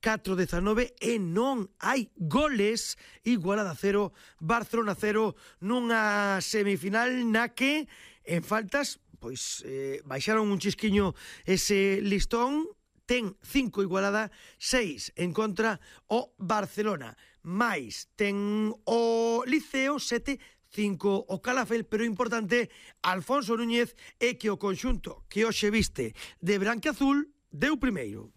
4-19 e non hai goles. Igualada 0, Barcelona 0 nunha semifinal na que en faltas pois baixaron un chisquiño ese listón. Ten 5 Igualada, 6 en contra o Barcelona, máis ten o Liceo 7-5 o Calafell, pero importante, Alfonso Núñez, é que o conxunto que hoxe viste de branquiazul deu primeiro.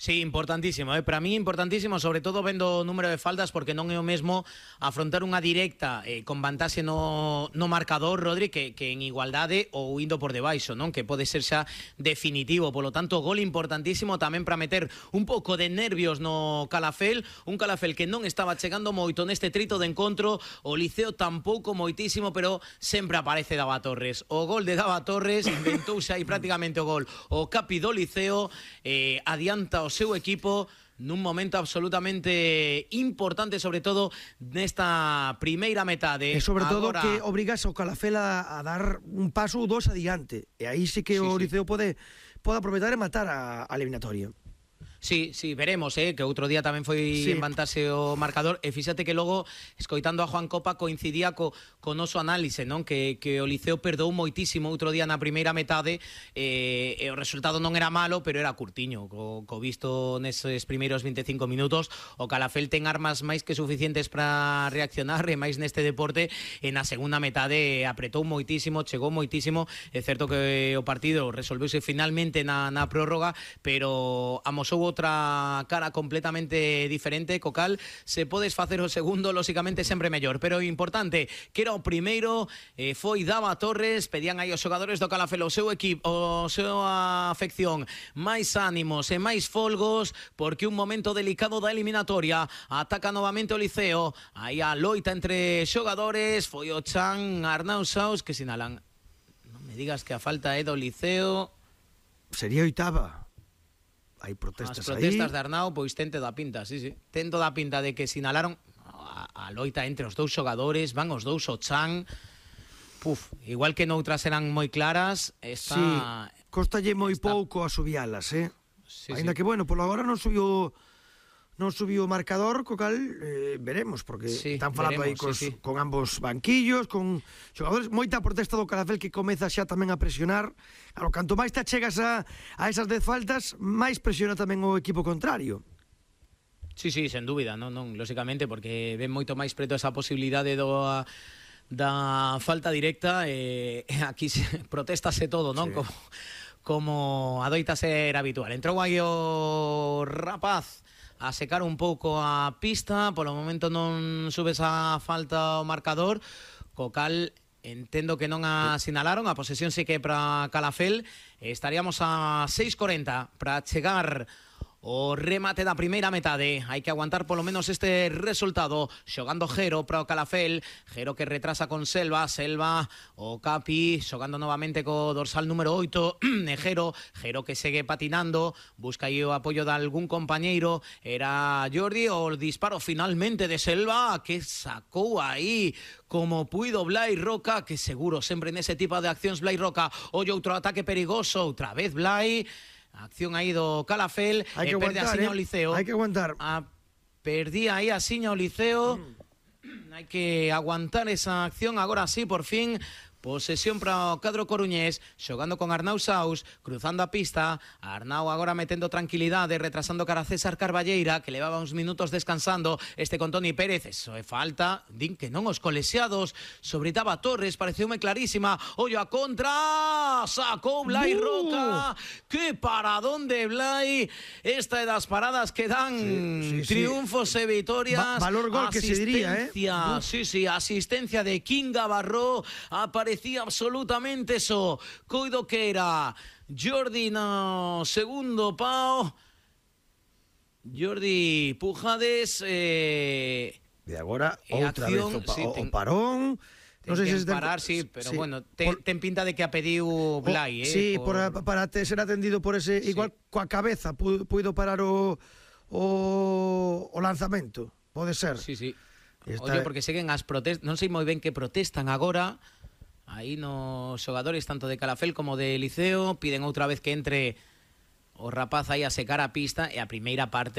Sí, importantísimo, para mí importantísimo, sobre todo vendo o número de faltas, porque non é o mesmo afrontar unha directa con vantaxe no marcador, Rodri, que en igualdade ou indo por debaixo, non? Que pode ser xa definitivo. Polo tanto, gol importantísimo tamén para meter un pouco de nervios no Calafell, un Calafell que non estaba chegando moito neste trito de encontro, o Liceo tampouco moitísimo, pero sempre aparece Dava Torres. O gol de Dava Torres inventouse aí prácticamente o gol. O capi do Liceo adianta o seu equipo nun momento absolutamente importante, sobre todo nesta primeira metade. E sobre todo que obrigas ao Calafell a dar un paso ou dos adiante. E aí sí que o Liceo pode aproveitar e matar a eliminatoria. Sí, veremos, que outro día tamén foi embantarse o marcador, e fíxate que logo, escoitando a Juan Copa, coincidía co noso análise, non? Que o Liceo perdou moitísimo outro día na primeira metade, e o resultado non era malo, pero era curtiño, co visto neses primeiros 25 minutos. O Calafell ten armas máis que suficientes para reaccionar, e máis neste deporte, e na segunda metade apretou moitísimo, chegou moitísimo. É certo que o partido resolveuse finalmente na prórroga, pero amosou outra cara completamente diferente, co cal se podes facer o segundo, lóxicamente sempre mellor, pero importante que era o primeiro, foi Dava Torres. Pedían aí os xogadores do Calafell, o seu equipo, a súa afección, máis ánimos e máis folgos, porque un momento delicado da eliminatoria. Ataca novamente o Liceo, aí a loita entre xogadores, foi o Chan, Arnau Saus, que sinalan. Non me digas que a falta é do Liceo. Sería oitava. Hai protestas aí. As protestas de Arnau, pois ten toda a pinta, sí. Ten toda a pinta de que sinalaron a loita entre os dous xogadores, van os dous o Chan. Igual que noutras eran moi claras, esta... Sí, costalle moi pouco a subialas, Ainda que, bueno, polo agora non subiu o marcador, co cal veremos, porque están falando aí con ambos banquillos, con xogadores. Moita protesta do Calafell que comeza xa tamén a presionar. Claro, canto máis te achegas a esas 10 faltas, máis presiona tamén o equipo contrario. Sí, sen dúbida, non, lóxicamente, porque ven moito máis preto esa posibilidade da falta directa, e aquí protestase todo, non? Como adoita ser habitual. Entrou aí o rapaz a secar un pouco a pista, polo momento non sube esa falta ao marcador, co cal entendo que non a sinalaron. A posesión sí que é para Calafell. Estaríamos a 6:40 para chegar o remate da primeira metade. Hai que aguantar polo menos este resultado. Xogando Jero para o Calafell, Jero que retrasa con Selva, o Capi xogando novamente co dorsal número 8 Jero que segue patinando, busca aí o apoio de algún compañeiro. Era Jordi, o disparo finalmente de Selva, que sacou aí como puido Blai Roca, que seguro sempre nese tipo de accións Blai Roca. Ollo, outro ataque perigoso, outra vez Blai. Acción aí do Calafell, perde a siña o Liceo. Hai que aguantar. Perdía aí a siña o Liceo. Hai que aguantar esa acción. Agora sí, por fin, posesión para o cadro coruñés, xogando con Arnau Saus, cruzando a pista. Arnau agora metendo tranquilidade, retrasando cara a César Carballeira, que levaba uns minutos descansando. Con Toni Pérez, eso é falta. Din que non os colexiados sobre Dava Torres, pareceume clarísima. Ollo a contra, sacou Blai Roca. Que paradón de Blai. Esta é das paradas que dan triunfos e vitorias. Valor gol que se diría, asistencia de Kinga Barró. Parecía absolutamente eso. Coido que era Jordi no segundo pau. Jordi Pujades. E agora outra vez o parón. Non sei se parar, pero bueno, ten pinta de que a pediu Blai, Sí, para ser atendido por ese, igual coa cabeza puido parar o lanzamento. Pode ser. Sí. Oye, porque seguen as protestas, non sei moi ben que protestan agora. Aí nos xogadores tanto de Calafell como de Liceo piden outra vez que entre o rapaz aí a secar a pista, e a primeira parte